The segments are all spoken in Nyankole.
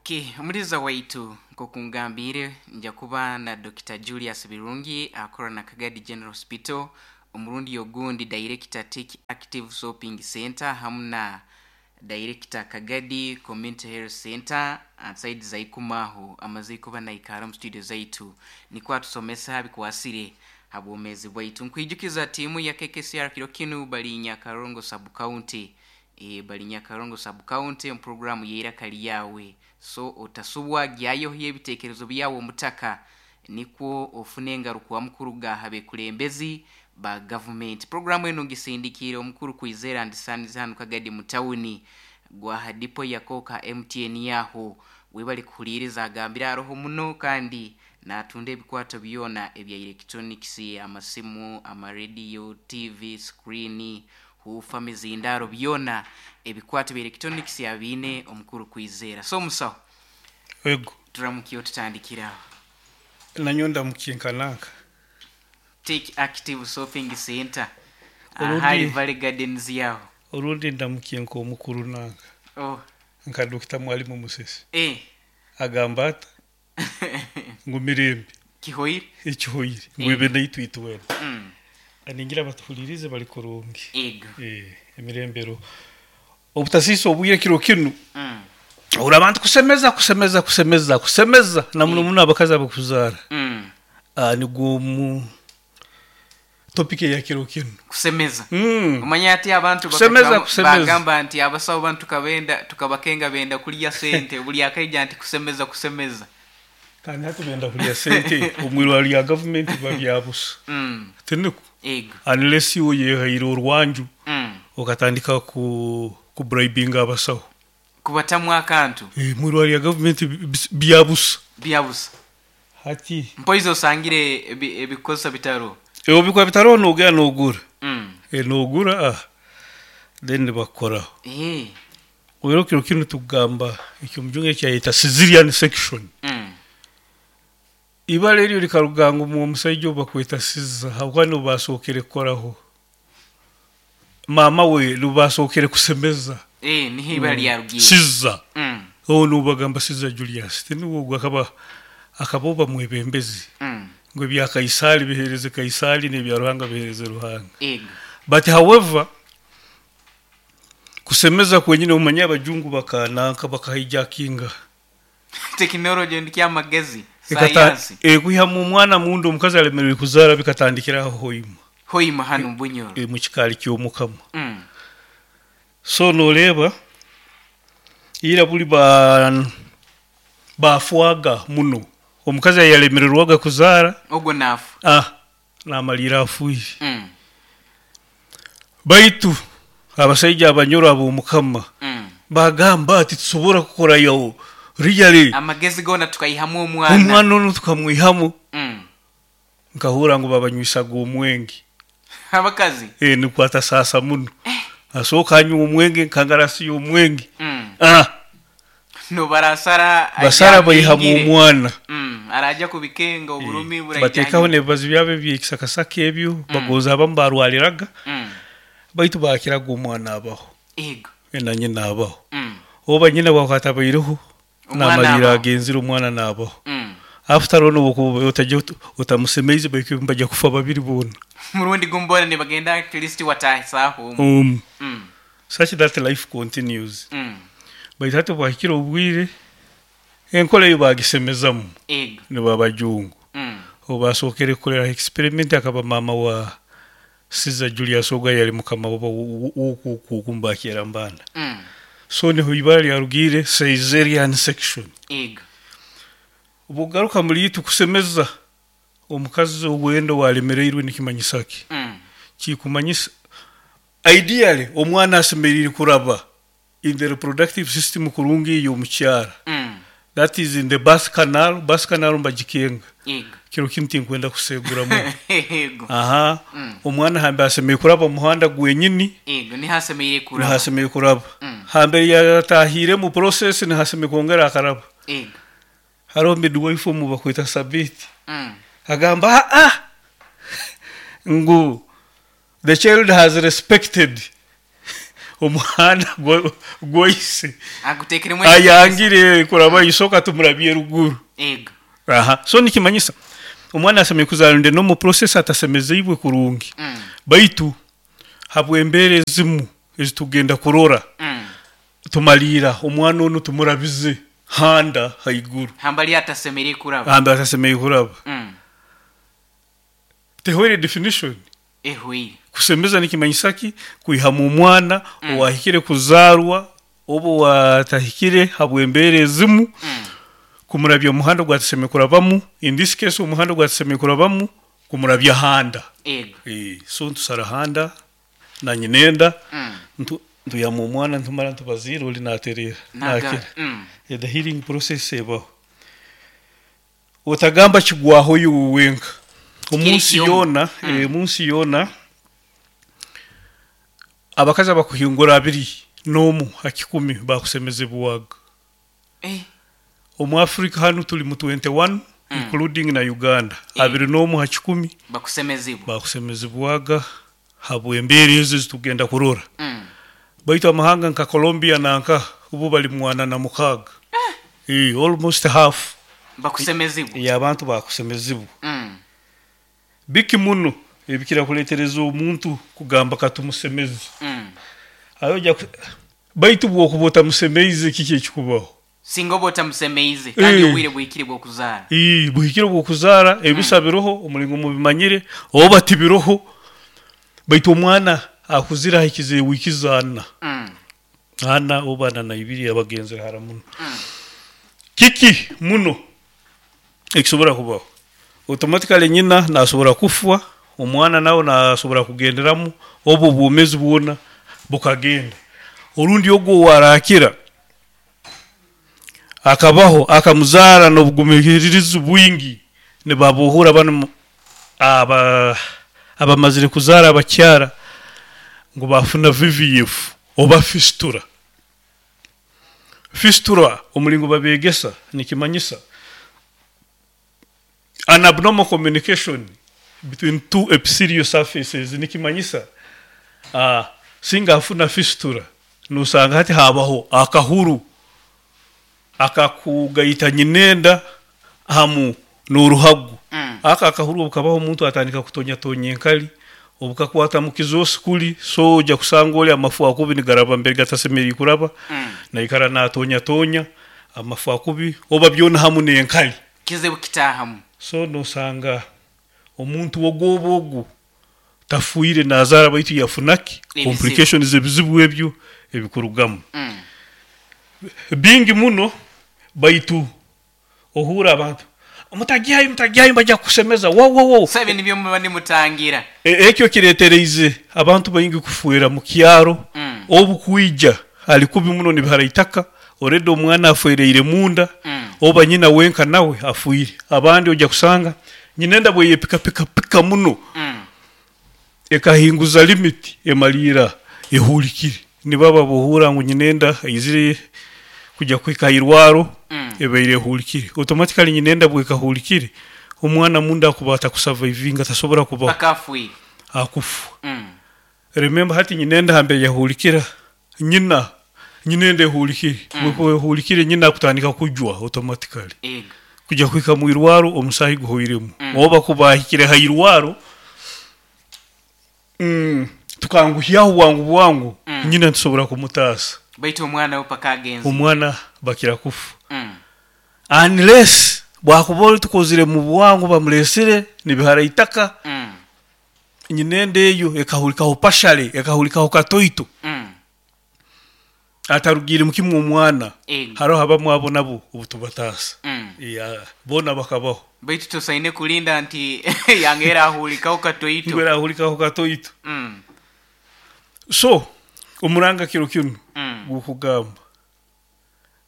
Okay, omuliza waitu nk'oku ngambiire nja kuba na Dokita Julius Birungi akora na Kagadi General Hospital, omurundi ogundi Director Tech Active Shopping Center hamu na Director Kagadi Community Health Center side za Ikuma aho amaze kuba naikara omu studio zaitu nikwo atusomesa ha bikwasire ha bwomezi bwaitu. Nkwijukiza tiimu ya KKCR kiro kinu bari Nyakarongo Sub County. E, bari Nyakarongo Sub County omu programu y'eiraka ryawe. So otasubwa gyayo ebitekerezo byawe omutaka nikwo ofune engarukwamu kuruga aha bekulembezi ba gavumenti. Programu enu ngisindikiire omukuru Kwizera and Sons hanu Kagadi mu tawuni gwa dipo ya Koka MTN yaho webale kuhuliiriza agambire aroho muno kandi natunda ebikwato byona ebya electronics, amasimu, amarediyo, TV, screen, huufa, mizindaro, byona ebikwato bya electronics abiine omukuru Kwizera. So omusaho Ego. turamukiye otutandikire aho. Nanyowe ndamukiye nka nanka. Take Active Shopping Center Orundi- ahari Valley Gardens yaho. Orundi ndamukiye nk'omukuru nanka. Oh, Nka Dokita Mwalimu Musisi. eh. Agamba ata ngu mirembe Kihoire. ekihoire ngu ebe naitwe itwena. Ningira abatuhulirize bari kurungi. Ego. Eh, emirembero. Obutasiisa obwire kiro kinu. Ohurra abantu kusemeza kusemeza kusemeza kusemeza na muno muno abakazi abakuzaara. Ah, nigwo mu topic eya kiro kinu. Kusemeza. Omanya ati abantu Kusemeza, bakacwamu- kusemeza. bagamba nti abasawo banu tukabenda tukabakenga benda kulya sente buli akaija nti kusemeza kusemeza. Kandi hati benda kulya sente omu irwariro rya gavumenti biba bya busa. Tiniko? Ego. Unless iwe oyehaire orwanju okatandika ku kubribinga abasaho. Kubatamu akantu. Eh, omu irwariro rya gavumenti bya busa. Bya busa. Hati Mpoizi osangire ebikozesa bitaro. Ebikuba bitariho noogenda noogura. Eh, noogura ah, then nibakukoraho. Oiro kiro kinu tukugamba eky'omujungu ekyayeta Caesarean section. Ibara eryo rikaruga ngu omu omusaija ou bakweta Caesar habwokuba niwe baasookere kukoraho. Maama we niwe baasookere kusemeza. Eh, niho ibara ryarugiire. Caesar. Ou niwe bagamba Caesar Julius. Tiniwe ogu akaba akaba oba mwebembezi. Ngu ebya Kaisaari biheereze Kaisaari n'ebya Ruhanga biheereze Ruhanga. Ego. But however, kusemeza kwenyine omanye abajungu bakananka bakahijackinga. Tekinology ndikyamagezi. Ekata Sayansi. kwihamu omwana munda omukazi alemererwe kuzaara bikatandikira aho Hoima. Hoima hanu Bunyoro. Mu kikaari ky'omukama. So nooreeba ira buri ba baafwaga muno. Omukazi ayalemererwaga kuzaara Ogwo naafa. ah naamariira afiire. Baitu abasaija abanyoro ab'omukama bagamba ati tusobora kukorayo really Amagezi goona tukaihamu omwana. Omwana onu tukamwihamu. Nkahurra ngu babanywisaga omwenge. Abakazi. Eh, nikwo atasaasa muno. Asooka anywa omwenge nkangarasi y'omwenge. Ah. No barasara Basara ajja baihamu akingire. omwana. Araja kubikenga oburumi Eh, bateekaho n'ebibazi byabo eby'ekisakasaka ebyo bagonza abamu barwariraga. Baitu baakiraga omwana abaho. Ego. Na nyina abaho. Oba nyina bw'akuba atabaireho Omwana naamariira abaho. agenzire omwana naabaho. After all nobu otajya otamusemeize baitu bajya kufa babiri boona. Murundi gumu boona nibagenda at least wataahisaho omu. Such that life continues. Baitu hati bwahikire obwire enkora eyo baagisemezamu. Ego. Nibo abajungu. Obu baasookere kukoreraho experiment akaba maama wa Caesar Julius ogu ayali mukama w'oku mbakyera mbanda. So niho ibara ryarugiire Caesarean section. Ego. Obu okugaruka muri itwe kusemeza omukazi owenda owalemereirwe nikimanyisa ki? Kikumanyisa ideally omwana asemeriire kuraba in the reproductive system kurungi ey'omukyara. That is in the birth canal, birth canal mbagikenga. Ego. Kiro kinu tinkwenda kuseguramu. Ego. Aha. Omwana hambe asemeriire kuraba omu muhanda gwenyini. Ego, niho asemeriire kuraba. Niho asemeriire kuraba. Hambere yatahire mu process niho asemeriire kwongera akaraba. Ego. Hariho midwife omu bakweta Sabiti. Agamba ah ngu the child has respected. Omuhanda gwa ise Aguteekeremu ekitiinisa. Ayangire kuraba isoka tumurabye ruguru. Ego. Aha, so nikimanyisa omwana asemeriire kuzaarwa inde n'omu process atasemezeibwe kurungi. Baitu habw'embeera ezimu ezitugenda kurora, tumaliira omwana onu tumurabize handa haiguru. Hambali atasemeriire kuraba. Hambali atasemeriire kuraba. Tehwaire definition? Ehwaire. Kusemeza nikimanyisa ki? Kwihamu omwana owahikire kuzaarwa oba owatahikire habw'embeera ezimu, kumurabya omu muhanda ogu atasemeriire kurabamu, in this case omuhanda ogu atasemeriire kurabamu, kumurabya handa. Ego. So nitusara handa na nyinenda, ntwihamu omwana nitumara nitubaziira ori natereera, nakira. The healing process ebaho. Otagamba kigwaho iwe wenka. Omu nsi yoona, omu nsi yoona, abakazi abakuhingura 21 ha 100 bakusemezebwaga. Omu Africa hanu turi mu 21, including na Uganda. 21 ha 100 Bakusemezibwa. Bakusemezibwaga habw'embeera ezi ezitugenda kurora. Baitu amahanga nka Colombia nanka bo bari mu 46. Almost half Bakusemezibwa. Y'abantu bakusemezibwa. Biki muno ebikira kuletereza omuntu kugamba katumusemeze? Ayo ojja baitu bwokuba otamusemeize kiki ekikubaho? Singa oba otamusemeize kandi obwire buhikire bw'okuzaara. Buhikire bw'okuzaara, ebisa biroho omulingo mubimanyire oba tibiroho, baitu omwana akuzire ahikize wiiki za 4. 4 oba 42 abagenzere hara muno. Kiki muno ekisobora kubaho? Automatically nyina nasobora kufwa, omwana nawe nasobora kugenderamu, oba obwomezi bwona bukagenda. Orundi ogu owarakira akabaho akamuzaara n'obugumikirizi bwingi, nibabohora banu aba abamazire kuzaara abakyara ngu bafuna VVF oba fistula. Fistula omulingo babegesa nikimanyisa an abnormal communication between two epithelial surfaces. Nikimanyisa singa afuna fistula nosanga hati habaho akahuru akakugaita nyinenda hamu n'oruhago. Aka akahuru obukabaho omuntu atandika kutonyatonya enkali obukakwata mu kizosi kuli, so ojja kusanga oli amafu akubi nigaraba mbere gatasemeriire kuraba, naikara natonyatonya amafu akubi oba byona hamu n'enkali. Kizibu kitaahamu. So nosanga omuntu ogwoba ogu tafiire nazaara baitu yafuna ki? Ebizibu. Complications, ebizibu ebyo ebikurugamu. Bingi muno, baitu ohuura abantu mutagyayo, mutagyayo, bajja kukusemeza wo wo wo. So ebi nibyo muba nimutangira. Ekyo kiretereize abantu baingi kufwera mu kyaro. Obu kwija ali kubi muno nibihara itaka, already omwana afwereire munda, oba nyina wenka nawe afiire. Abandi ojja kusanga nyinenda bweyepikapika muno, ekahinguza limit, emaliira ehulikire. Nibaba bohuura ngu nyinenda aizire kujya kuhika hairwaro, ebaire ehulikire. Automatically nyinenda bwekahulikire, omwana munda akuba atakusurvivinga, tasobora kubaho. Paka afiire. Akufa. Remember hati nyinenda hambere yahulikira, nyina nyinenda ehulikire. Bwekuba ehulikire nyina akutandika kujwa automatically. Ego. Kujya kuhika mu irwaro omusaahi guhoiremu. Oba kuba ahikire ha irwaro, tukanguhyaho bwangu bwangu, nyina nitusobora kumutaasa. Baitu omwana we paka agenze. Omwana bakira kufa. Unless bwakuba oli tukozire mu bwangu bamulesire nibihara itaka, nyinenda eyo ekahulikaho partially, ekahulikaho katoito, atarugiire kimwe omwana. Ego. Haroho abamu abo nabo obutubataasa. Yeah, boona bakabaho. Baitu tosaine kulinda nti yange erahulikaho katoito. Ngu erahulikaho katoito. So omuranga kiro kinu gukugamba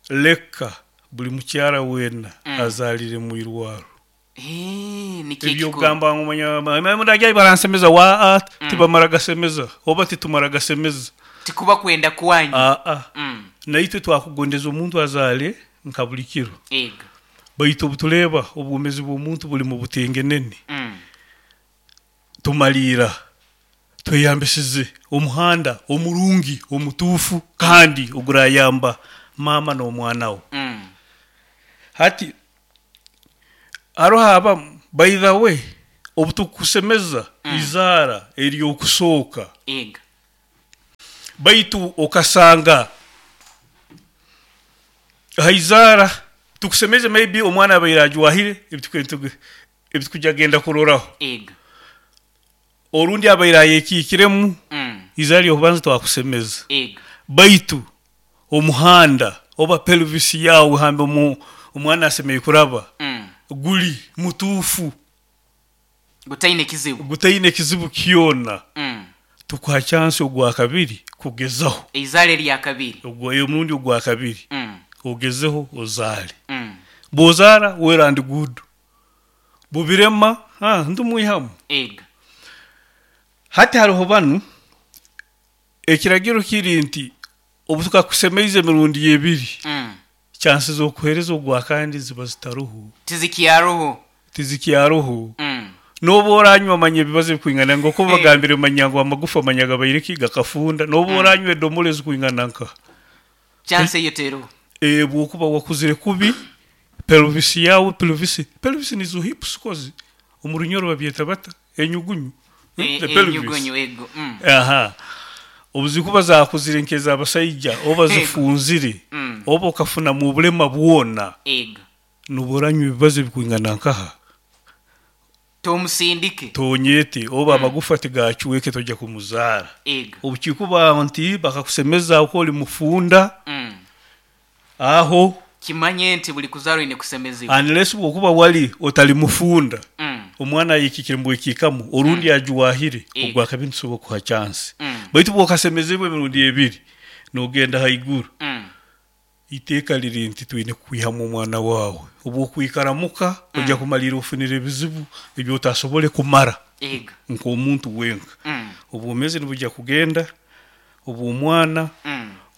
leka buli mukyara weena azaalire mu irwaro. Nikyo Ebyo ekikuru. kugamba ngu manya muragya baransemeza wa tibamara gasemeza oba titumara gasemeza. Tikuba kwenda kwanyu. Aa, naitwe twakugondeza omuntu azaale nka buli kiro. Ego. Baitu obutureeba obwomezi bw'omuntu buli mu butengenene, tumaliira. Tweyambisize omuhanda omurungi, omutuufu kandi ogurayamba maama n'omwana we. Hati hariho abamu by the way obutukusemeza eizaara ery'okusooka baitu okasanga aha izaara tukusemeze maybe omwana abaire ajwahire ebitukujya genda kuroraho. Orundi abaire ayekiikiremu eizaara ry'okubanza twakusemeza baitu omuhanda oba pelvis yaawe hambe omwana asemeriire kuraba guri mutuufu. Gutaine kizibu. Gutaine kizibu kyona. Tukuha chance ogwakabiri kugezaho. Eizaara eryakabiri. Omurundi ogwakabiri ogezeho ozaare. Bwozaara well and good. Bubirema nitumwihamu. Ego. Hati hariho banu, ekiragiro kiri nti obu tukakusemeize emirundi ebiri, chansi z'okuheereza ogwakandi ziba zitaruho. Tizikyaruho. Tizikyaruho. N'obu oranywa manya ebibazo ebikwingana nk'oku bagambire manya ngu amagufa manya gabaire ki gakafunda, n'obu oranywa edomora ezikwingana nka. Chance eyo teriho. Bwokuba wakuzire kubi, pelvis yaawe, pelvis, pelvis nizo hips kozi, omu Runyoro babyeta bata? Enyugunyu, the pelvis. Enyugunyu ego. Aha. Obu zirikuba zaakuzire nk'ez'abasaija oba zifunzire, oba okafunamu obulema bwona, Ego. nooba oranywa ebibazo ebikwingana nkaha? Tomusindike. Tonyete, oba amagufa tigaacweke toija kumuzaara. Ego. Obu kirikuba nti bakakusemeza oku ori mufunda, aho. Kimanye nti buri kuzaara oine kusemezibwa. Unless bw'okuba wari otari mufunda, omwana ayekiikire mubwekiikamu, orundi ajwahire, Ego. ogwo akabi nitusobola kukuha chance. Baitu bw'okasemezibwa emirundi ebiri, noogenda haiguru. Eiteeka riri nti twine kukwihamu omwana waawe. Obu okwikara muka, oija kumariira ofunire ebizibu ebi otasobole kumara Ego. nk'omuntu wenka. Obwomeezi nibwija kugenda, obw'omwana,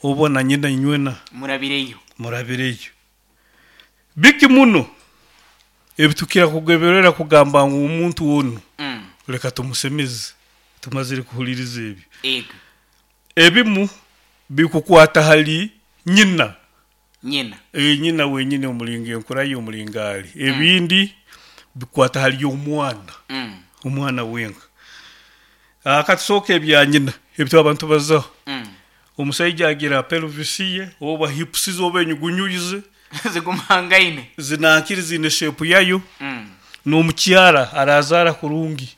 oba na nyina inywena Murabireyo. murabireyo. Biki muno ebitukira kugeberera kugamba ngu omuntu onu leka tumusemeze tumazire kuhuliriza ebyo. Ego. Ebimu bikukwata hali nyina. Nyina. Ee, nyina wenyini omulingo enkura ye omulingo ali. Ebindi bikukwata hali omwana, omwana wenka. Katusooke ebya nyina ebi twaba nitubazaho. Omusaija agira pelvis ye oba hips ze oba enyugunyu ze. Zigumangaine. Zinankiri ziine shape yayo. N'omukyara arazaara kurungi.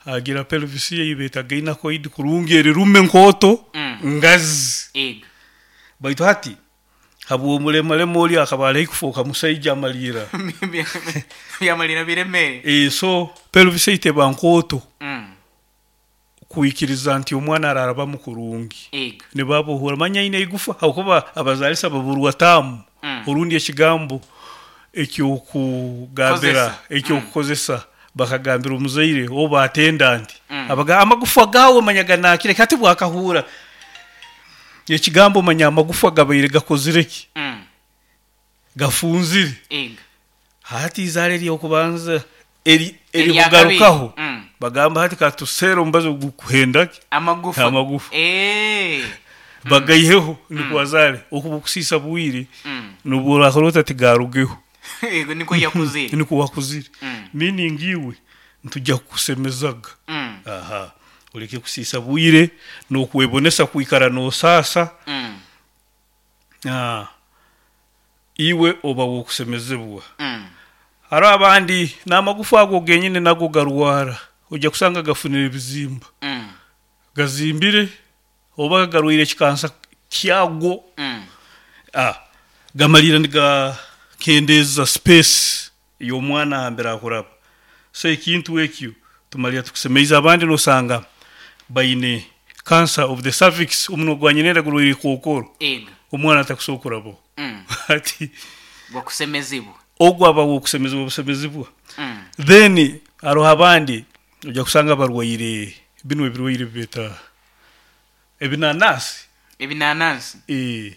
Agira pelvis ye ei beeta gynacoid kurungi eri rume nkooto ngazi. Ego. Baitu hati habw'omulemalema ori akaba ari haihi kufooka musaija amaliira. Byamalira biremere. Ee, so pelvis ei teba nkooto kwikiriza nti omwana ararabamu kurungi. Ego. Nibabohora manya aine eigufa habwokuba abazaalisa baburwa taamu orundi ekigambo eky'okugambira Kozesa. eky'okukozesa bakagambira omuzaire oba atendant abaga amagufa gaawe manya ganaakire ki hati bwakahuura ekigambo manya amagufa gabaire gakozire ki gafunzire Ego. hati eizaara ery'okubanza eri Erya kabiri. erikugarukaho bagamba hati katuseere omubazi ogukuhenda ki Amagufa. Amagufa. Eeh. Bagaiheho nikwo azaare okuba okusiisa bwire nobu orakora ota tigarugeho. Ego nikwo yakuzire. Nikwo wakuzire. Meaning iwe nitujya kukusemezaga. Aha. Oreke kusiisa bwire nokwebonesa kwikara nosaasa. Iwe oba wokusemezebwa. Hariho abandi namagufa ago genyine nago garwara ojya kusanga gafunire ebizimba. Gazimbire oba garwaire ekikansa kyago gamariire nigakendeeza space y'omwana ahambere akuraba. So ekintu ekyo tumariira tukusemeize abandi nosanga baine cancer of the cervix omunwa gwa nyinenda gurwaire ekookoro Ego. omwana atakusobora kurabaho. Hati Gwakusemezibwa. Ogwo aba w'okusemezibwa busemezibwa. Then haroho abandi oija kusanga barwaire binu ebirwaire ebi beeta ebinanasi. Ebinanansi. Eeh,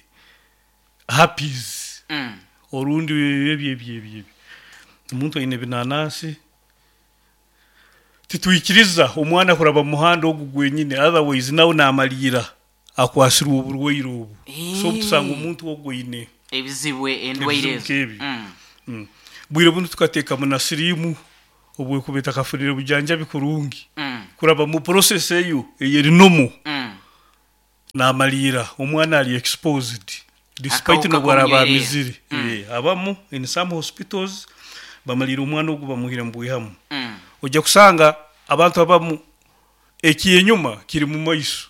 herpes orundi ebyo ebyo ebyo. Omuntu aine ebinanasi. Titwikiriza omwana kuraba mu muhanda ogu gwenyine otherwise nawe namariira akwasirwe oburwaire obu. So obutusanga omuntu ogu aine Ebizibu endwaire ebizibu ezo. nk'ebyo. Bwire bunu tukateekamu na siriimu obwekuba etakafunire bujanjabi kurungi kuraba mu process eyo eyeri normal. Namariira omwana ari exposed despite Akahuka nobu araba k'omunywera. amizire. Abamu in some hospitals bamariira omwana ogu bamuhire mubwihamu. Oija kusanga abantu abamu ekyenyuma kiri mumaiso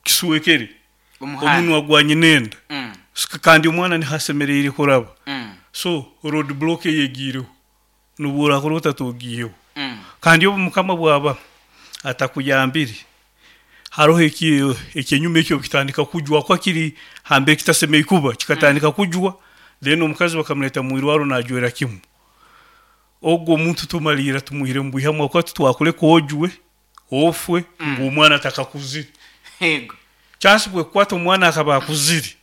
kiswekere Omuhanda. omunwa gwa nyinenda kandi omwana niho asemereire kuraba. So road block eyo egiireho nobu orakora ota togiiheho. Kandi obu mukama bwaba atakuyambire haroho ekyenyuma ekyo kitandika kujwa ahakuba kiri hambere kitasemereire kuba kikatandika kujwa then omukazi bakamureta mwirwaro najwera kimu. Ogwo omuntu tumariira tumuhire mubwihamu ahakuba titwakureka ojwe ofwe ngu omwana atakakuzire. Yego. Chance bwekukwata omwana akaba akuzire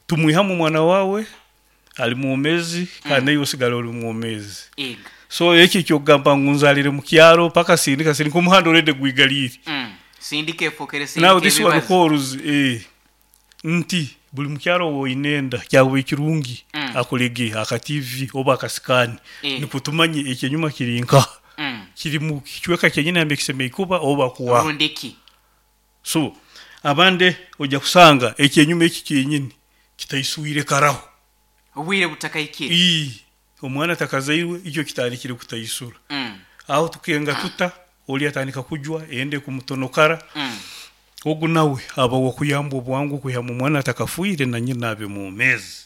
tumwihamu omwana wawe ari mwomezi kandi naiwe osigara ori mwomezi. Yego. So ekyo ekyokugamba ngu nzarire mukyaro paka sindika sindika omuhanda already gwigariire. Sindika efokere sindika Now this one ebibazo. calls nti buri mukyaro owoine enda kyakubaire kirungi akorege aka TV oba aka scan nikwo tumanye ekyenyuma kiri nkaha. Kiri mu kicweka kyenyini nambere kisemereire kuba oba kuwa. Rundi ki? So abandi oija kusanga ekyenyuma eki kyenyini kitaiswire karaho. Obwire butakahikire. Ii, omwana atakazairwe ikyo kitandikire kutaisura. Aho tukenga tuta, ori atandika kujwa enda ekumutonokara. Ogu nawe aba ow'okuyambwa obwangu kwihamu omwana atakafiire na nyina abe mwomeezi.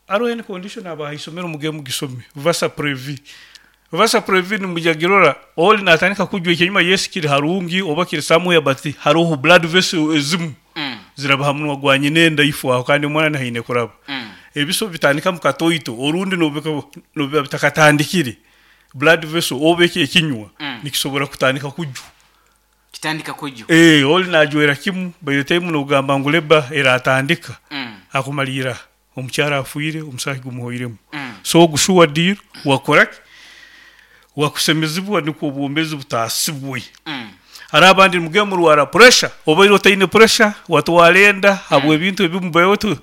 Haroho any condition aba aha isomero mugende mugisome, vasa previ. Vasa previ nimwija kugirora, ori natandika kujwa ekyenyuma yes kiri harungi oba kiri somewhere but haroho blood vessel ezimu ziraba ha munwa gwa nyina enda ifo aho kandi omwana niho aine kuraba. Ebiso bitandika mu katoito orundi nobu biba bitakatandikire, blood vessel oba eki ekinywa nikisobora kutandika kujwa. Kitandika kujwa. Oli najwera kimu by the time nogamba ngu labour eratandika akumariira omukyara afiire omusaahi gumuhoiremu. So ogu sure deal wakora ki? Wakusemezibwa nikwo obwomezi butaasibwe. Hariho abandi nimugenda murwara pressure obaire otaine pressure watwara enda habw'ebintu ebimu by the way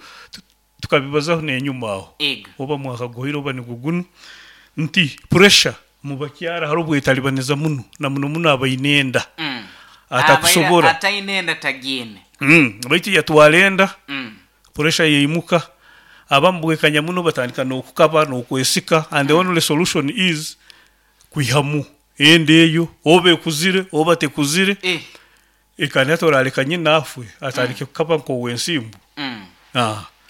tukabibazaho n'enyuma aho oba mwaka guhoire oba nigwo gunu nti pressure mubakyara hariho obwetalibaniza muno na muno muno abaine enda atakusobora. Ataine enda tagiine. Baitu yatwara enda pressure yaimuka abamu bwekanya muno batandika n'okukaba n'okwesika and the only solution is kwihamu enda eyo oba ekuzire oba tekuzire kandi hati orareka nyina afwe atandike kukaba nk'owensimbu.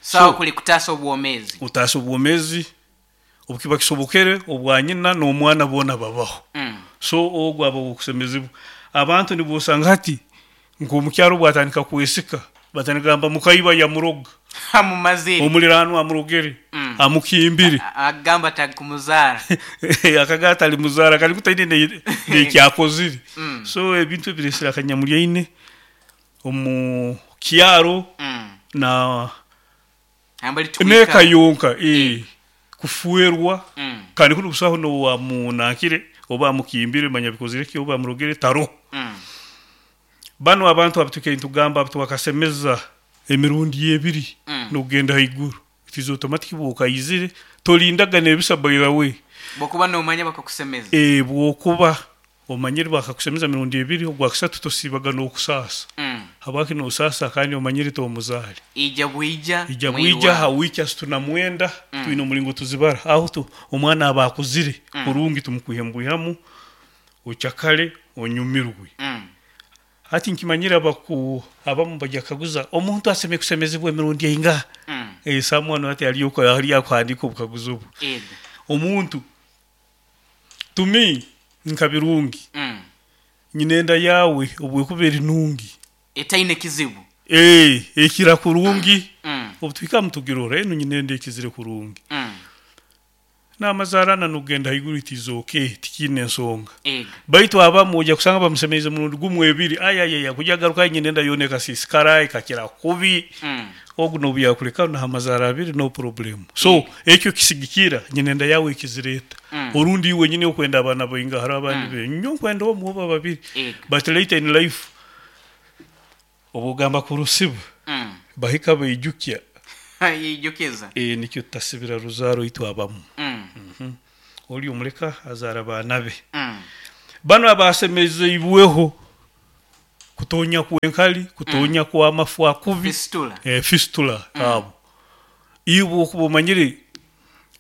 Sawa kuli kutaasa obwomezi. Kutaasa obwomezi obukiba kisobokere obwa nyina n'omwana boona babaho. So ogwo aba ow'okusemezibwa. Abantu nibosanga hati nk'omukyara obwatandika kwesika batandika kugamba mukaiba yamuroga. Amumazire. Omuliraanwa amurogere, amukimbire. Akagamba tarikumuzaara. Akagamba tarimuzaara kandi ku taine n'eki akozire. So ebintu ebiresire akanyamuryaine omu kyaro na Nambere n'eka tukwikara. yonka kufwerwa kandi kunu busaho n'owamunankire oba amukimbire manya bikozire ki oba amurogere taroho. Banu abantu abu tukaire nitugamba abu twakasemeza emirundi ebiri n'okugenda haiguru. It is automatic bw'okaizire tolindaga n'ebisa by the way. Bw'okuba noomanya bakakusemeza. Bw'okuba omanyire bakakusemeza emirundi ebiri ogwakasatu tosiibaga n'okusaasa. Habwaki nosaasa kandi omanyire tomuzaare? Ija bwija Ija bwija ha wiiki asatu na mwenda twine omuringo tuzibara. Aho omwana aba akuzire kurungi tumukwihe mubwihamu ocakare onyumirwe. Hati nkimanyire abaku abamu bagya kukaguza omuntu asemeriire kusemezibwa emirundi eingaha? Someone hati ariyo akuhandiika obukaguzi obu. Omuntu to me nka Birungi nyine enda yaawe obu ekuba eri nungi. Etaine kizibu. Ekira kurungi. Obu tuhika nitugirora enu nyine enda ekizire kurungi. N'amazaarana n'okugenda haiguru it is okay tikiine ensonga. Baitu abamu oija kusanga bamusemeize murundi gumu ebiri ayayaya kugya agarukayo nyine enda yoona ekasiisikara ekakira kubi. Ogu n'obu yaakureka naha amazaara abiri no problem. So ekyo kisigikira nyina enda yaawe ekizireeta. Orundi iwe wenyini okwenda abaana bainga hariho abandi be nyowe nkwenda omwe oba babiri but later in life obu ogamba kurusiba bahika baijukya. Yeijukiza. Nikyo tutasibira ruzaaro itwe abamu. Ori omureka azaara abaana be. Banu abaasemezeibweho kutonya kw'enkari, kutonya kw'amafu akubi, Fistula. fistula abo. Iwe okuba omanyire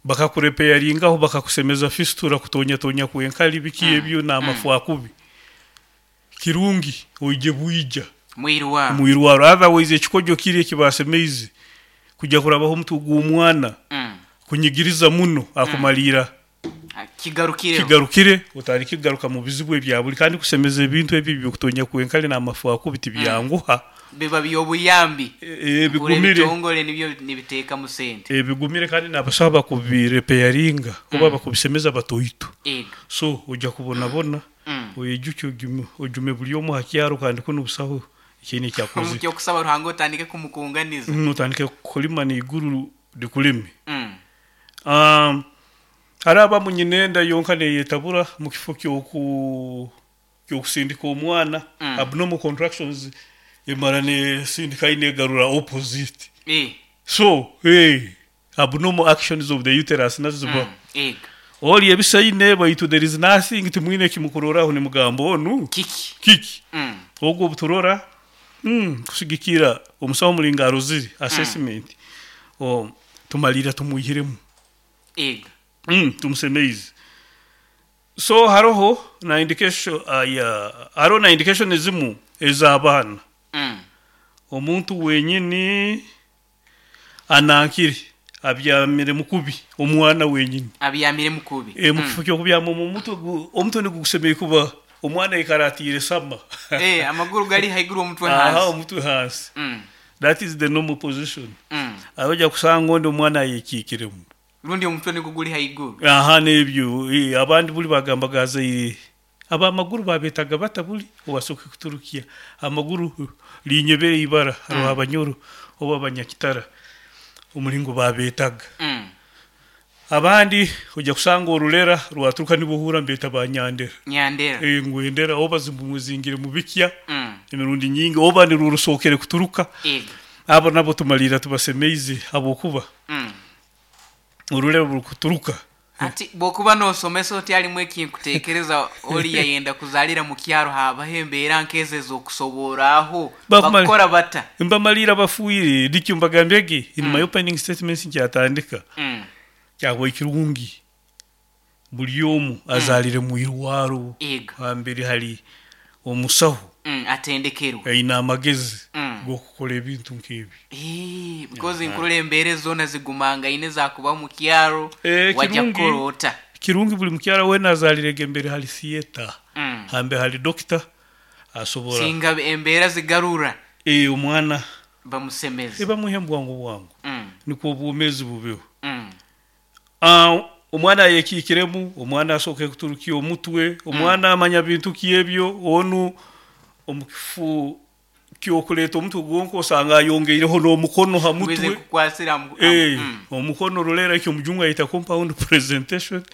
bakakurepeyaringaho bakakusemeza fistula, kutonyatonya kw'enkari, biki ebyo n'amafu akubi, kirungi oije bwija Mwirwaro. mwirwaro. Otherwise ekikojo kiri eki baasemeize kuja kurabaho omutwe gw'omwana kunyigiriza muno akumariira Kigarukireho. Kigarukire, otandike kugaruka mu bizibu ebya buri kandi kusemeza ebintu ebi eby'okutonya kwenkare n'amafu akubi tibyanguha. Biba by'obuyambi. Ee, Hurira bigumire. ebitongore nibyo nibiteekamu sente. Ee, bigumire kandi n'abasaho abakubirepeyaringa oba abakubisemeza batoito. Ego. So, oija kubonabona, oyejukye ojume ojume buri omwe aha kyaro kandi kunu busaho ekiine eki Omu akozire. ky'okusaba Ruhanga otandike kumukunganiza. Otandike kulima n'eiguru rikureme. Hariho abamu nyina enda yonka neyetabura mu kifo ky'oku ky'okusindika omwana abnormal contractions emara nesindika ahi negarura opposite so abnormal actions of the uterus nazo zibaho. Ori ebisaine baitu there is nothing timwine ekimukuroraho nimugamba onu Kiki? kiki? Ogwo obuturora kusigikira omusaho omuringo arozire assessment tumariira tumwihiremu. Ego. Tumusemeize. So haroho na indication aya haroho na indication ezimu ez'abaana. Omuntu wenyini anankire abyamiremu kubi omwana wenyini. Abyamiremu kubi. Eh, mu kifo ky'okubyama omu mutwe gu omutwe nigwo gusemeriire kuba omwana aikara atiire sama. Eh, amaguru gari haiguru omutwe Aha, hansi. omutwe hansi. That is the normal position. Aho oja kusanga ondi omwana ayekiikiremu. Rundi omutwe nigwo guri haiguru. Aha n'ebyo abandi buri bagambaga azaire ab'amaguru babeetaga bata buri owasooka kuturukya amaguru rinyebere eibara hariho abanyoro oba abanyakitara omuringo babeetaga. Abandi oja kusanga orurera rwaturuka nibwo ohurra nibeeta ba nyandera. Nyandera. Ngu endera oba zimuzingire mu bikya emirundi nyingi oba nirwo rusookere kuturuka. Ego. Abo nabo tumariira tubasemeize habwokuba orurera burikuturuka. Hati bw'okuba noosomesa oti harimu ekinkuteekereza ori yayenda kuzaalira mu kyaro haabaho embeera nk'ezo ez'okusoborraho Bakumara- bakukora bata? Mbamariire abafiire nikyo mbagambire ge in my opening statements nkyatandika kyahwa kirungi buri omu azaarire mu irwaro Ego. hambere hari omusaho Atendekerwe. aine amagezi g'okukora ebintu nk'ebyo. Eh, because nkurora embeera ezi zoona zigumangaine zakuba omu kyaro Eh, wajya kirungi kukora ota? kirungi buri mukyara weena azaarire embere hari theatre hambere hari doctor asobora Singa embeera zigarura eh, omwana bamusemeze. bamuhe bwangu bwangu nikwo obwomeezi bubeho. Ah, omwana ayekiikiremu omwana asooke kuturukya omutwe omwana amanya bintu ki ebyo onu omu kifo ky'okureeta omutwe gwonka osanga ayongeireho n'omukono ha Ngwize mutwe nkukwasira Eh, omukono rurera ekyo omujungu ayeta compound presentation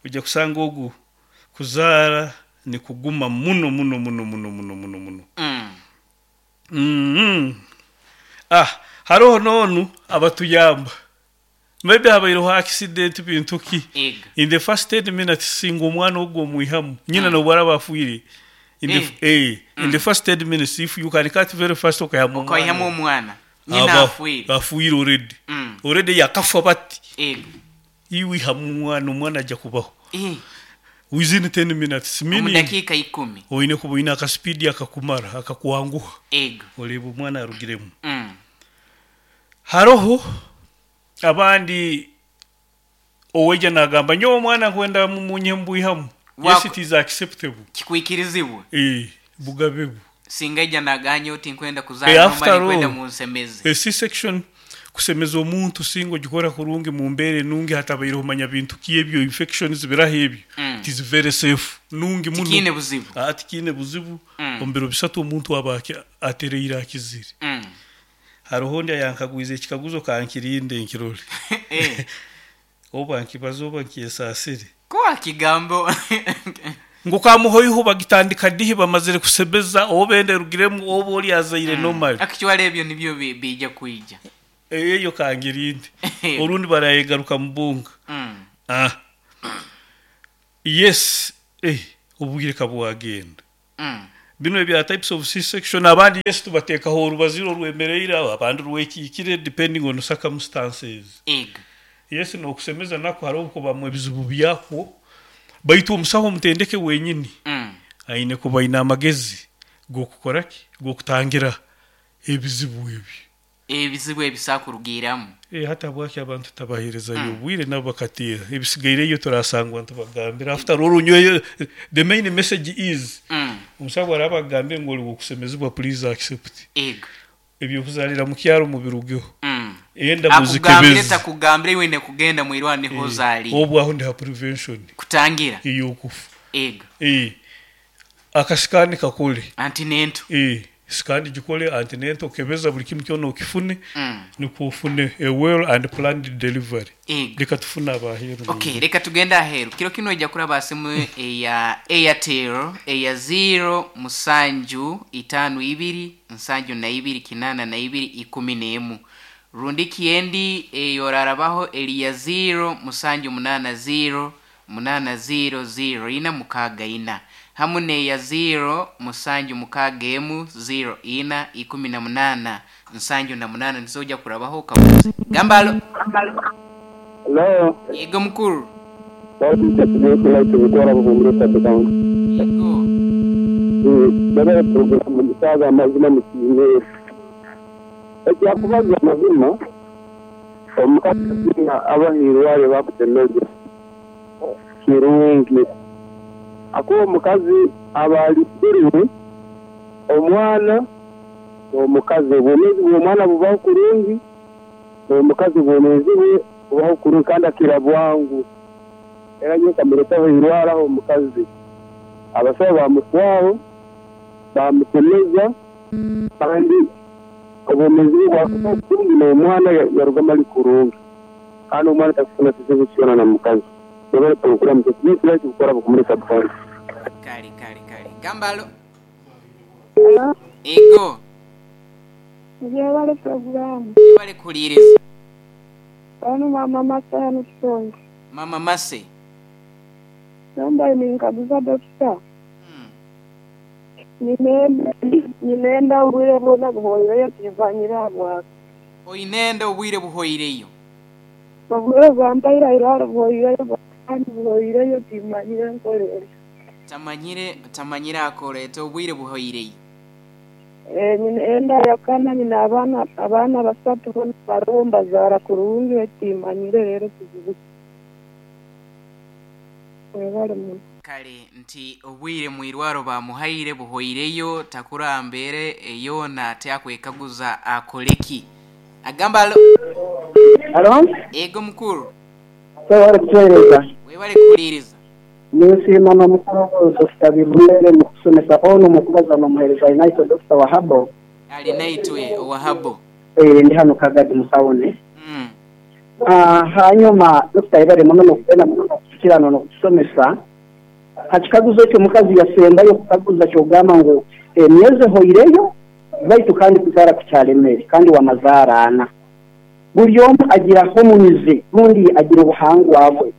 ojja kusanga ogu kuzaara nikuguma muno muno muno muno muno muno muno. Ah, haroho n'onu abatuyamba maybe habaireho accident bintu ki Ego. in the first 10 minutes singa omwana ogwo omwihamu nyina n'obu araba afiire in the, eh, in the first 10 minutes if you can cut very fast okaihamu Okaihamu omwana omwana. Nyina aba afiire. afiire already already yakafa bati Ego. iwe ihamu omwana omwana ajja kubaho Eh, within 10 minutes omu meaning dakiika ikumi. oine kuba oine akaspeed akakumara akakwanguha Ego. oreeba omwana arugiremu. Haroho abandi oweija nagamba nyowe omwana nkwenda mumunye mbwihamu. Yes, Wako- it is acceptable. Kikwikirizibwe. Eh, bugabe bu. Singa ija naganya oti nkwenda Eh, kuzaara after nomara nkwenda all munsemeze. a C-section kusemeza omuntu singa ogikora kurungi mu mbeera enungi hatabaireho manya bintu ki ebyo infections biraho ebyo. It is very safe nungi muno. Tikiine buzibu. Ah, tikiine buzibu. Omu biro bisatu omuntu aba atereire akizire. Haroho ondi ayankagwize ekikaguzo kankirinde nkirole. Eh. Oba nkibaze oba nkyesaasire. Ku wakigamba. Ngu kamuhoiho bagitandika dihi bamazire kusemeza oba enda erugiremu oba oli azaire normally. Actually ebyo nibyo biija kwija. Eyo kangirinde. Orundi barayegaruka mubunga. Ah. Yes eh obwire kabwagenda. Binu ebya types of C-section abandi yes tubatekaho orubaziro orwemereire aho abandi rwekiikire depending on circumstances. Ego. Yes nokusemeza nakwo haroho obukubamu ebizibu byakwo baitu omusaho omutendeke wenyini aine kuba aine amagezi gokukora ki? Gokutangira ebizibu ebyo. Ebizibu ebisobola kurugiiramu. Eh hati habwaki abantu tutabaherezayo obwire nabo bakateera ebisigaireyo turasangwa nitubagambira after all nyowe the main message is omusaho bwaraba akugambire ngu ori wokusemezibwa please accept. Ego. Ebyokuzarira mukyaro mubirugeho enda Akugambire muzikebeze. takugambire iwe oine kugenda mwirwaro niho ozarire. Obwo aho ndi ha prevention. Kutangira. Eyokufa. Ego. Eh akasikani kakole. Antenatal. Eh sikani gikole antenatal kebeza buri kimu kyona okifune nikwo ofune a well and planned delivery. Ego. Leka tufune abaheru. Okay, leka tugende aheru. Kiro kinu oija kuraba aha simu eya Airtel eya ziiro musanju itaano ibiri nsanju na ibiri kinaana na ibiri ikumi n'emu. Rundiki endi ei orarabaho eri ya ziiro musanju munaana ziiro munaana ziiro ziiro ina mukaaga ina hamu n'eya ziiro musanju mukaaga emu ziiro ina 18 78 nizo oija kurabaho okabuuze. Gamba alo. Hello. Yego mukuru. Yego. Yego. Baba program musaga amazima mukiine. Ekyakubaza amazima omukazi abahirware bakutemeze kirungi. Akuba omukazi aba alisirwe omwana omukazi obwomeezi bw'omwana bubaho kurungi omukazi obwomeezi bwe bubaho kurungi kandi akira bwangu. Era nyowe nkamuretaho irwaraho omukazi. Abasaho bamutwaho bamusemeza kandi obwomeezi bwe bwakubaho kurungi n'omwana yarugamu ari kurungi. Kandi omwana takufuna kizibu kyona na mukazi. Kale kale kale. Gamba alo. Ego. Yebale puroguramu. Webale kuhuriiriza. Onu mama Mase hanu Kishongi. Mama Mase. Nomba ninkaguza dokita. Nyine enda obwire bwona buhweireyo timanyire ahabwaki. Oine enda obwire buhweireyo. Obwire bwampaire ahairwaro buhweireyo kandi buhweireyo timanyire nkore nta. Tamanyire tamanyire akora ata obwire buhweireyo. Eh, nyine enda yakana nyine abaana abaana basatu boona baroho mbazaara kurungi timanyire reero kizibu ki. Mwebale muno. Kale nti obwire mwirwaro bamuhaire buhweireyo takura mbeera yoona ati akwekaguza akoreki. Agamba alo. Halo? Ego mukuru. Webale kutuheereza. Webale kuhuriiriza. Ninsiima n'omukuru Dokita Bibumere mu kusomesa onu omu kubaza n'omuheereza Alinaitwe Dokita Wahabo. Alinaitwe Wahabo. Eh, ndi hanu Kagadi mu tawuni. Ah, hanyuma Dokita yebale muno n'okugenda muno n'okutukirano n'okutusomesa. Ha kikaguzo ekyo omukazi yasembayo kukaguza ky'ogamba ngu emyezi ehoireyo baitu kandi kuzaara kukyalemere kandi wamazaara ana. Buri omwe agira hormones rundi agira obuhangwa bwe.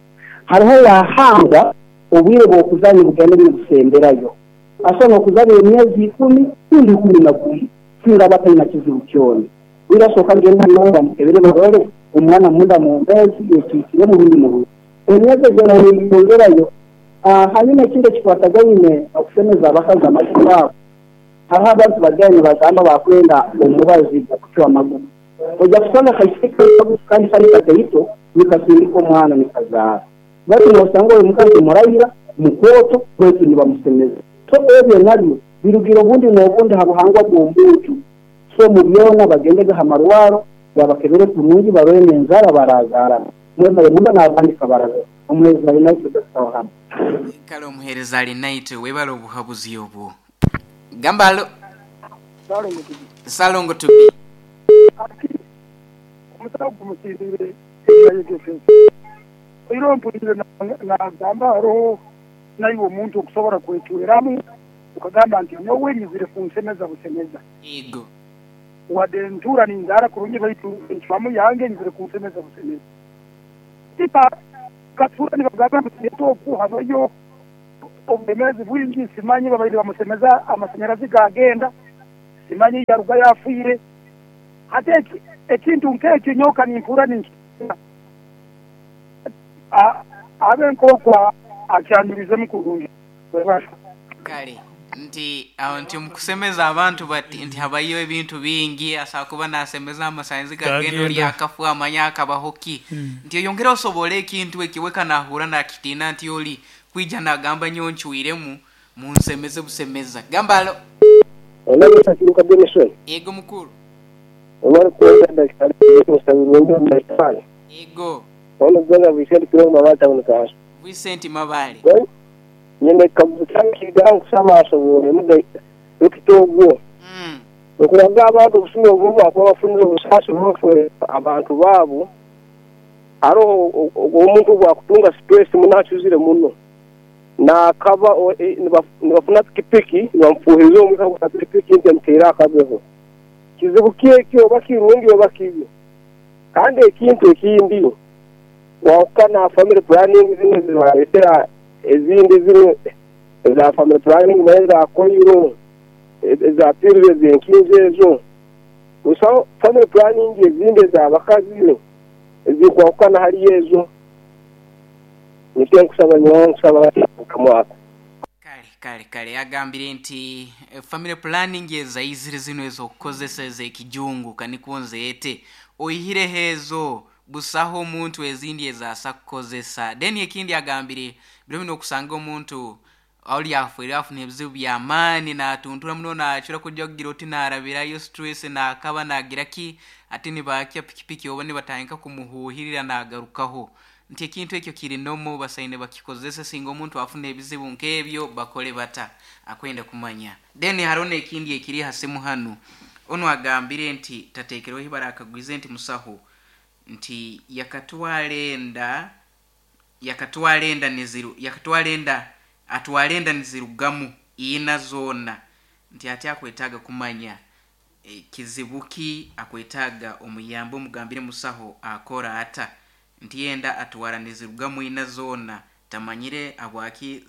Hariho owahangwa obwire bw'okuzaara nibugenda nibusemberayo. Asobola n'okuzaara emyezi ikumi rundi 12 singa aba ataine kizibu kyona. Bwire asooka agenda nawe bamukebere barole omwana munda mwomeezi ekiikiremu rundi murungi. Emyezi egyo neyeyongerayo. Hanyuma ekindi ekikwatagaine n'okusemeza abakazi amaju gaabo, hariho abantu bagenda nibagamba bakwenda omubazi gw'okucwa amagufa. Oija kusanga akaisiki kandi kari kataito nikasindika omwana nikazaara. Baitu noosanga oyo omukazi muraira, mukooto baitu nibamusemeza. So ebyo nabyo birugire obundi n'obundi ha buhangwa bw'omuntu. So omu byona bagendege ha marwaro babakebere kurungi barole n'enzaara barazaaramu. Mwebale muno n'abandi kabarabe. Omuheereza Alinaitwe Dokita Wahaba. Kale omuheereza Alinaitwe webale obuhabuzi obwo. Gamba alo. Salongo Tubi. Hati omusaho gumusindiire ebi yayegeseze. Oihireho mpuliire nagamba haroho naiwe omuntu okusobora kwecweramu okagamba nti nyowe nyizire kunsemeza busemeza. Yego. Wadde ntuura ninzaara kurungi baitu encwamu yange nyizire kunsemeza busemeza. Tipa katuura nibagamba ngu Tinyeta oku habayo oburemeezi bwingi simanyi babaire bamusemeza amasanyarazi gagenda simanyi yarugayo afiire. Hati ekintu nk'ekyo nyowe ka nimpurra ninkitiina. Abe nk'oku akyanjurizemu kurungi. Webale. Kale nti aho nti omu kusemeza abantu bati nti habayo ebintu bingi asobola kuba nasemeza amasanyizi gagenda ori Gagenda. akafa amanye akabaho ki nti oyongere osobole ekintu eki we kanahura nakitiina nti ori kwija nagamba nyowe ncwiremu munsemeze busemeza gamba alo. Onabusa Kiruka Benson, Ego mukuru. Omar Kwenda Daktari Musabirungi omu Daktari. Ego. Ono Brother Vincent Kirongo Mabale Town Council. Vincent Mabale. Well, nyine ekikaguzo kyange kigaho nkusaba asobooremu dokita ogwo. Okuraga abantu obusumi obu bakuba bafunire obusaasi bw'okuferwa abantu baabo, haroho omuntu obu akutunga stress muno acuzire muno, naakaba nibafuna pikipiki nibamufuuhirira omwika gwa pikipiki nti emuteire akabeho. Kizibu ki eki oba kirungi oba kibi? Kandi ekintu ekindi, kwahukana ha family planning zinu ezibaretera ezindi zinu eza family planning manya eza koiro, eza pills ezenkinzo ezo, busaho family planning ezindi ezabakazi ezikwahukana hali ezo. Nikyo nkusaba nyowe nkusaba nkamwaka. Kale kale kale agambire nti family planning ezaizire zinu ezokukozesa ezekijungu kanikwo nzeete oihireho ezo busaho omuntu ezindi ezasa kukozesa. Then ekindi agambire biro binu okusanga omuntu ori afwire afuna ebizibu byamaani natuntura muno nacura kuja kugira oti narabirayo stress nakaba nagira ki ati nibakya pikipiki oba nibatandika kumuhuhirira nagarukaho. Nti ekintu ekyo kiri normal basaine bakikozese singa omuntu afuna ebizibu nk'ebyo bakole bata akwenda kumanya. Then haroho n'ekindi ekiri ha simu hanu onu agambire nti tatekereho ibara akagwize nti musaho nti yakatwara enda yakatwara enda niziru yakatwara enda atwara enda nizirugamu ina zoona nti ati akwetaaga kumanya kizibu ki akwetaaga omuyambe omugambire musaho akora ata nti enda atwara nizirugamu ina zoona tamanyire habwaki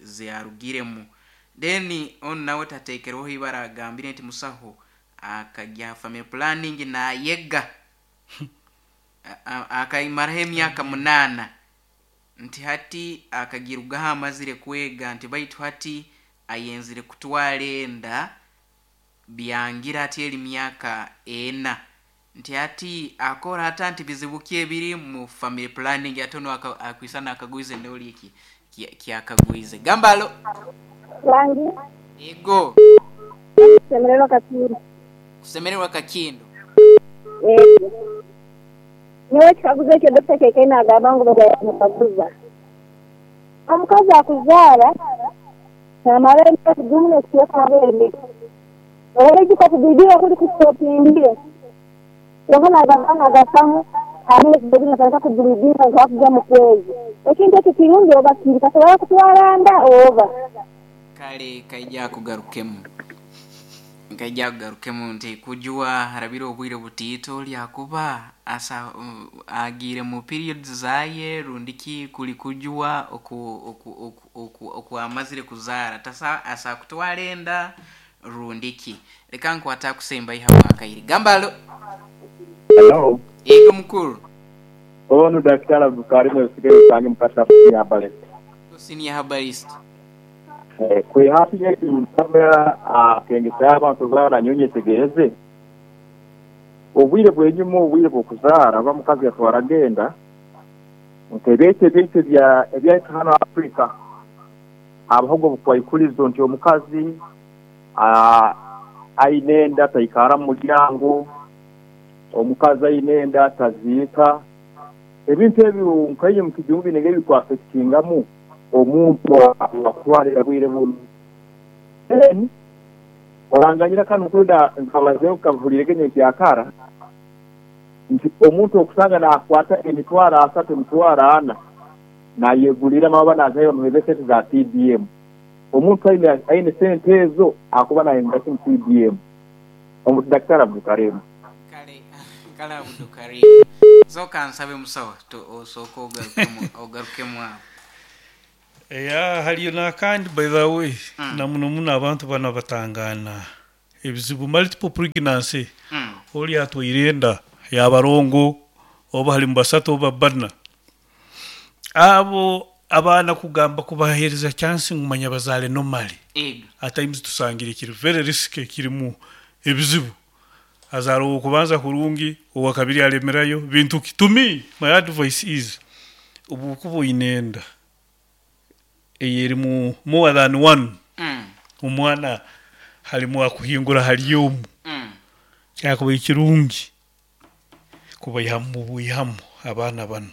ziarugiremu. Then onu nawe tatekereho ibara agambire nti musaho akagya ha family planning nayega akaimaraho emyaka 8 nti hati akagirugaho amazire kwega nti baitu hati ayenzire kutwara enda byangira ati eri myaka 4 nti hati akora ata nti bizibu ki ebiri mu family planning ate ono akwisana akagwize ndoli eki kyakagwize gambalo Wangi. Ego. Kusemererwa Kakindo. Kusemererwa Kakindo. Ego. Nyowe ekikaguzo ekyo Dokita Kekeine agamba ngu bamukaguza. Omukazi akuzaara namara emyezi gumu n'ekicweka amabere Oraijuka okugwidira okuri kusitopingire. Kwonka nagamba nagafamu amezi goona natandika kugwidira nkakuza mu kwezi. Ekintu ekyo kirungi oba kibi? Kasobora kutwara nda oba? Kale kaija kugarukemu. Nkaija kugarukemu nti kujwa harabire obwire butiito lyakuba asa agiire mu periods zaye rundiki kuli kujwa oku oku oku oku okwamazire kuzaara tasa asa kutwara enda rundiki leka nkwata kusemba iha bwakaire gambalo. Hello. Ego mukuru. Onu Daktari Abdulkarim Wesigeyo Osange Mukasa Senior Herbalist. Senior Herbalist. Kwe hafi y'ekintu akengesa abantu kuzaara nyowe nyetegereze. Obwire bw'enyuma obwire bw'okuzaara oba mukazi yatwaraga enda nk'ebyaitu ebyaitu ebyaitu hanu Afrika habahoga obukwaikurizo nti omukazi aine enda taikara mu muryango, omukazi aine enda taziika. Ebintu ebyo nkainye mu kijungu bine ebikwaffectingamu omuntu akutwara bwire bunu. Then oranganyira kanu kwenda nkabazeho nkahurire nyenkyakara Nti omuntu okusanga nakwata emitwaro asatu, emitwaro ana nayeguriramu aba nazayo bamuhereze esente za PDM. Omuntu aine aine sente ezo akuba nayenda ki mu PDM? Omu Daktari Abdukarim. Kale kale Abdukarim. Sooka nsabe musawo to osooke ogarukemu ogarukemu aho. Eya hariyo nakandi by the way na muno muno abantu banu abatangaana ebizibu multiple pregnancy ori atwaire enda ya barongo oba harimu basatu oba bana abo abaana kugamba kubahereza chance ngu manya bazaare normally at times tusangire kiri very risky kirimu ebizibu azaara owokubanza kurungi owakabiri aremerayo bintu ki to me my advice is obu okuba oyine enda eyerimu more than one omwana harimu akuhingura hari omu kyakubaire kirungi kubaihamu bwihamu abaana banu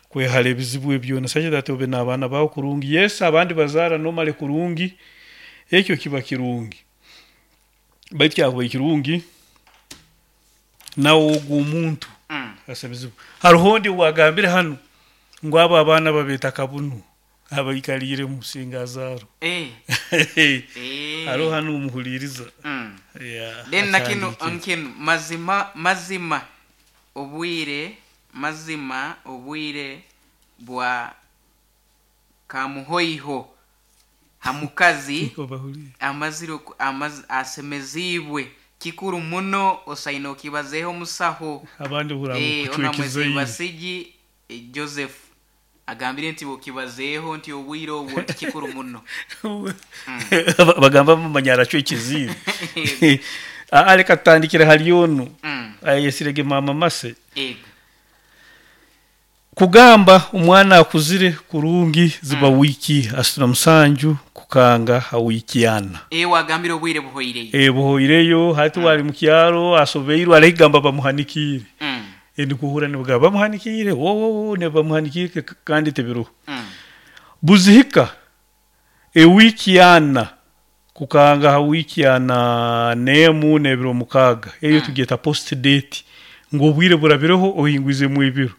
kwehara ebizibu ebi byona such that obe n'abaana baawe kurungi yes abandi bazaara normally kurungi ekyo kiba kirungi baitu kyakubaire kirungi nawe ogwo omuntu asemezibwe. Hariho ondi owagambire hanu ngu abo abaana babeeta kabunu abaikariire omu singa azaarwa. Hariho hanu omuhuriiriza. Yeah, Then na kinu atandikire. nkinu mazima mazima obwire mazima obwire bwa kamuhoiho ha mukazi amazire oku- amaz, asemeziibwe kikuru muno osaine okibazeeho omusaho. Abandi hurra ngu Eh, kucweka ona izaire. Mwezibasigi eh, Joseph agambire nti okibazeeho nti obwire obwo nti kikuru muno. Bagamba bamanya aracweka iziire. Aa reka tutandikire hari onu ayeyesirege maama Mase. Ego. Kugamba omwana akuzire kurungi ziba wiiki asatu na musanju kukanga ha wiiki ana. Eh, wagambire obwire buhoireyo. Eh, buhoireyo hati wari mu kyaro asobeirwe arahigamba bamuhanikiire. Ndikuhurra nibagamba bamuhanikiire wo wo wo nibamuhanikiire kandi tibiruho. Buzihika ewiiki ana kukanga ha wiiki ana n'emu n'ebiro mukaaga eyo tugyeta post date ngu obwire burabireho ohingwizemu ebiro.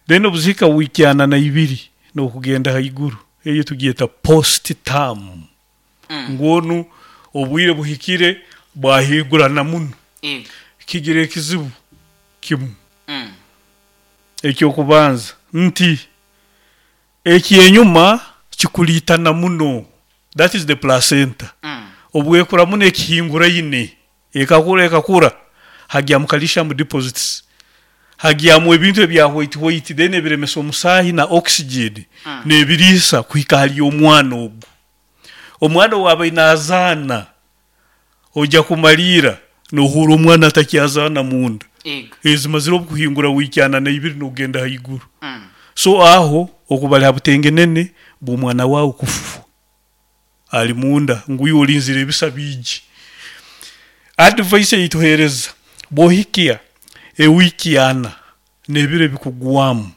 Then obuzihika wiiki ana na ibiri n'okugenda haiguru eyo tugyeta post term ngu onu obwire buhikire bwahingurana muno. Kigira ekizibu kimu eky'okubanza nti ekyenyuma kikuriitana muno that is the placenta obwekura muno ekihinguraine ekakura ekakura hagyamu calcium deposits hagyamu ebintu ebya white white then ebiremesa omusaahi na oxygen n'ebiriisa kuhika ahari omwana ogu. Omwana owaabaire naazaana oija kumariira noohuura omwana atakyazaana munda. Ezimazire obukuhingura wiiki ana na ibiri n'okugenda haiguru. So aho okuba ari ha butengenene bw'omwana waawe kufa ari munda ngu iwe orinzire ebisa biije. Advice ei tuheereza bw'ohikya ewiiki ana n'ebiro ebikugwamu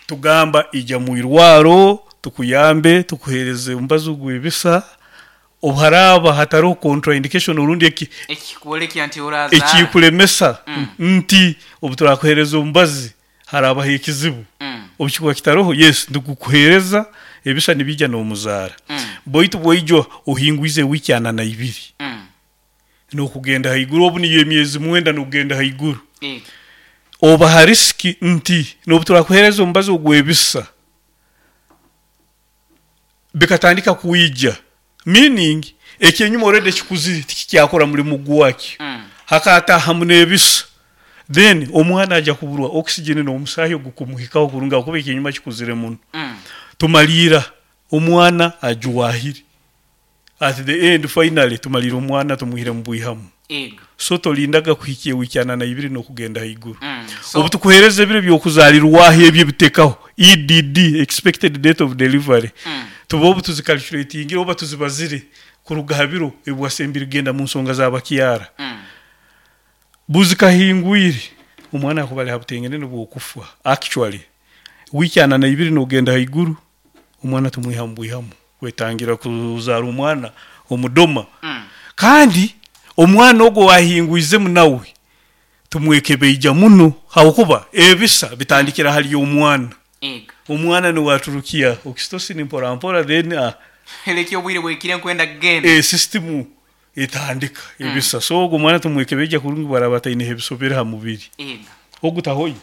tugamba ija mu irwaro tukuyambe tukuheereze omubazi ogw'ebisa obu haraaba hatariho contraindication orundi eki Ekikworeka nti orazaara. Ekikuremesa nti obu turakuheereza omubazi haraabaho ekizibu. Obu kikuba kitariho yes nitugukuheereza ebisa nibiija n'omuzaara. Baitu bwaija ohingwize wiiki ana na ibiri n'okugenda haiguru obu niyo emyezi mwenda n'okugenda haiguru oba ha risk nti n'obu turakuheereza omubazi ogw'ebisa bikatandika kwija meaning ekyenyuma already kikuzire tikikyakora murimo gwakyo hakataahamu n'ebisa then omwana aija kuburwa oxygen n'omusaahi ogukumuhikaho kurungi ahakuba ekyenyuma kikuzire muno. Tumariira omwana ajwahire at the end finally tumariira omwana tumwihire mu bwihamu. So torindaga kuhikya ewiiki ana na ibiri n'okugenda haiguru. Obu tukuheereza ebiro by'okuzaarirwaho ebyo ebitekaho EDD, expected date of delivery, tuba obu tuzicalculatingire oba tuzibazire kuruga ha biro ebi wasembire kugenda mu nsonga za bakyara. Buzikahingwire omwana akuba ari ha butengenene bw'okufa actually wiiki ana na ibiri n'okugenda haiguru omwana tumwihamu bwihamu kwetangira kuzaara omwana omudoma. Kandi omwana ogwo owahingwizemu nawe. Tumwekebeija muno habwokuba ebisa bitandikira hali omwana. Ego. Omwana niwe aturukia oxytocin mpora mpora then a. Leka obwire bwekire nkwenda kugenda. E system etandika ebisa. So ogu omwana tumwekebeija kurungi bwaraba ataineho ebisobere ha mubiri. Ego. Ogu tahoyo?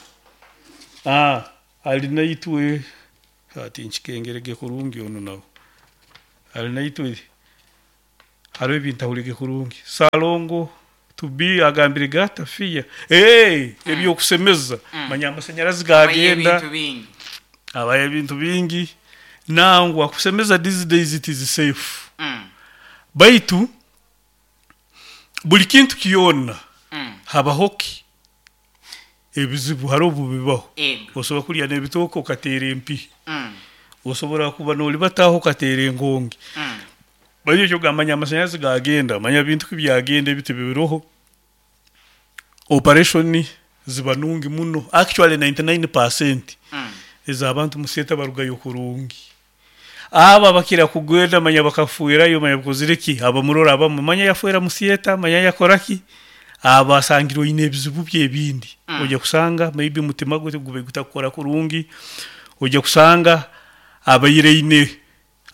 Ah ali naitwe ah tinkikengerege kurungi onu nawe. Ali naitwe Hariho ebi ntahuriire kurungi. Salongo to be agambire gata fear eeh ebyokusemeza manya amasanyarazi Abayo gagenda ebintu bingi. abayo ebintu bingi nangwa kusemeza these days it is safe baitu buri kintu kyona habaho ki ebizibu hariho obu bibaho Ego. osobola kurya n'ebitooke okateera empihi osobola kuba noribata aho okateera enkongi Baitu ekyo manya amasanyarazi gagenda, manya bintu ki byagenda ebiti biroho, operation ziba nungi muno actually 99 percent ez'abantu mu theatre barugayo kurungi. Abo abakira kugenda manya bakafwerayo manya bakozire ki, abamurora abamwe manya yafwera mu theatre, manya yakora ki, abo asangire oine ebizibu bye ebindi. Oija kusanga maybe omutima gwe gube gutakukora kurungi, oija kusanga abaire aine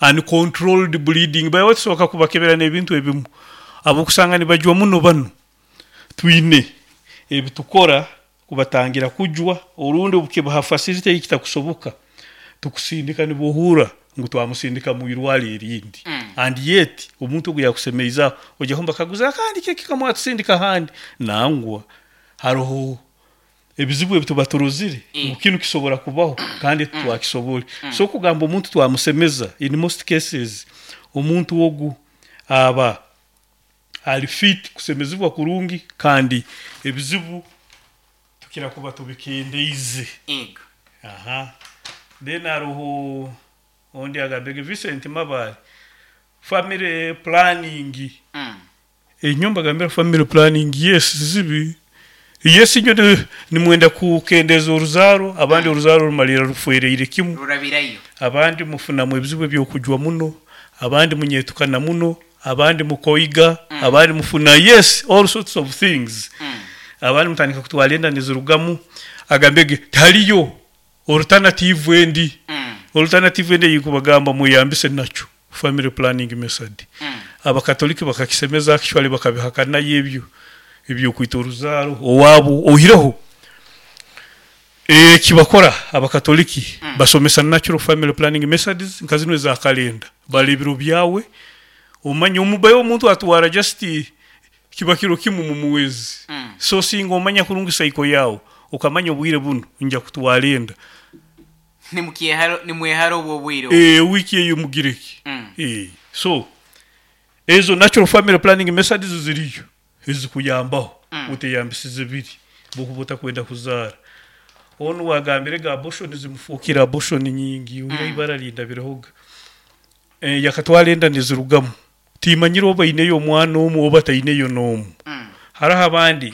Uncontrolled bleeding by the way tusoboka kubakebera nebintu ebimu abokusanga nibajwa muno banu twine ebitukora kubatangira kujwa orundi obukiba ha facility eyikitakusoboka tukusindika nibohura ngu twamusindika mwirwaro erindi and yet omuntu ogu yakusemeize aho oija kumubakaguza kandi kiki kamwatusindika ahandi nangwa haroho Ebizibu ebi tuba turozire ngu kinu kisobora kubaho kandi titwakisobore. So kugamba omuntu twamusemeza, in most cases omuntu ogu aba ali fit kusemezibwa kurungi kandi ebizibu tukira kuba tubikendeize. Ego. Aha. Then haroho ondi agambire Vincent Mabare, family planning. Enyowe mbagambira family planning yes zibi yes inywe nimwenda kukendeeza oruzaaro abandi oruzaaro rumalirra rufwereire kimu Rurabirayo. abandi mufunamu ebizibu ebyokujwa muno abandi munyetukana muno abandi mukoiga abandi mufuna yes all sorts of things abandi mutandika kutwara enda nizirugamu agambege tihariyo Alternative endi, Alternative endi eyikubagamba mweyambise nakyo family planning method. Abakatoliki bakakisemeza actually bakabihakanayo ebyo ebyokwita oruzaaro owaabo oihireho ekibakora abakatoliki basomesa natural family planning methods nka zinu eza calendar bara ebiro byawe omanye omubayo omuntu atwara just Kiba kiro kimu mu mwezi. So singa omanya kurungi cycle yaawe, okamanya obwire bunu nja kutwara enda. Nimwehara obwo obwire obwo. Eeh week eyo mugire ki? Eeh so ezo natural family planning methods ziriyo ezikuyambaho oteyambisize biri obu okuba otakwenda kuzaara. Onu owagambire ega abortion zimufuukire abortion nyingi oihireho ibara rindabirehoga. Yakatwara enda nizirugamu. Timanyire oba aineyo omwana omu oba taineyo n'omu. Haroho abandi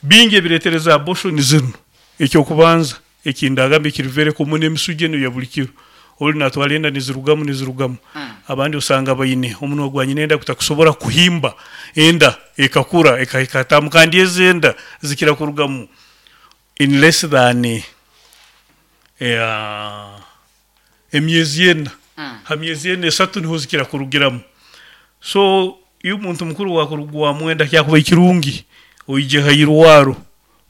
bingi ebiretereza abortion zinu. Eky'okubanza eki ndagamba ekiri very common emisuja enu eya buli kiro. Ori natwara enda nizirugamu nizirugamu. Abandi osanga baine omunwa gwa nyina enda gutakusobora kuhimba enda ekakura ekahika hatamu kandi ezi enda zikira kurugamu in less than emyezi ena. Ha myezi ena esatu niho zikira kurugiramu. So iwe muntu mukuru wakurugwamu enda kyakubaire kirungi oije ha irwaro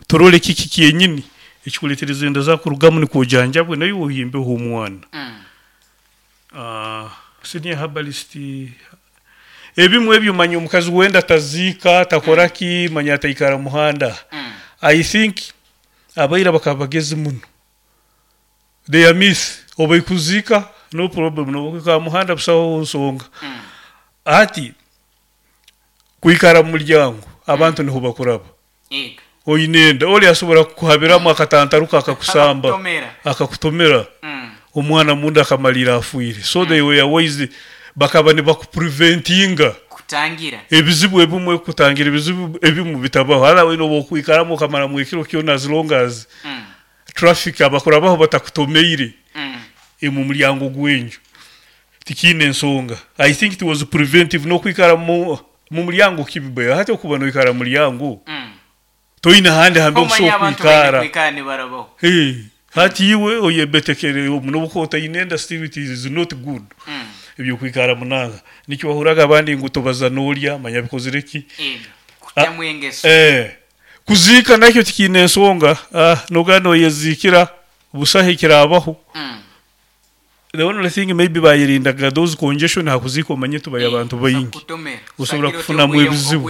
turole kiki kyenyini ekikuletereza enda zakurugamu nikwo ojanjabwe naiwe ohimbeho omwana. Senior herbalist ebimwe ebyo manya omukazi w'enda taziika takora ki manya ataikara muhanda. I think abaira bakaba bagezi muno. They are myth oba ikuziika no problem noba okwikara mumuhanda busaho nsonga hati kwikara mumuryango abantu niho bakuraba oyine enda ori asobora kukuhabiramu akatantaruka akakusamba akakutomera omwana munda akamalira afwire so they were wise bakaba nibaku preventinga ebizibu ebimwe kutangira ebizibu ebimu bitabaho otherwise noba okwikaramu okamaramu ekiro kyona as long as Traffic abakurabaho batakutomeire omu muryango gwenju tikiine nsonga. I think it was preventive nokwikara mumuryango kibi but hati okuba noikara mumuryango. Toine handi hambi Omanya okusobola abantu baine kwikara. kwikara nibarabaho. Hey, hati iwe oyebetekere omu nobu okuba otaine enda still it is not good ebyokwikara munanka. Nikyo wahurraga abandi ngu tobaza n'olya manya abikozire ki. Kutamu engeso. Eh, kuziika nakyo tikiine ensonga, ah, noga noyeziikira busaho ekiraabaho. The only thing maybe bayerindaga those congestion hakuziika omanye tubayo abantu baingi Kutomera. osobola Sakira oti kufunamu obwire ebizibu.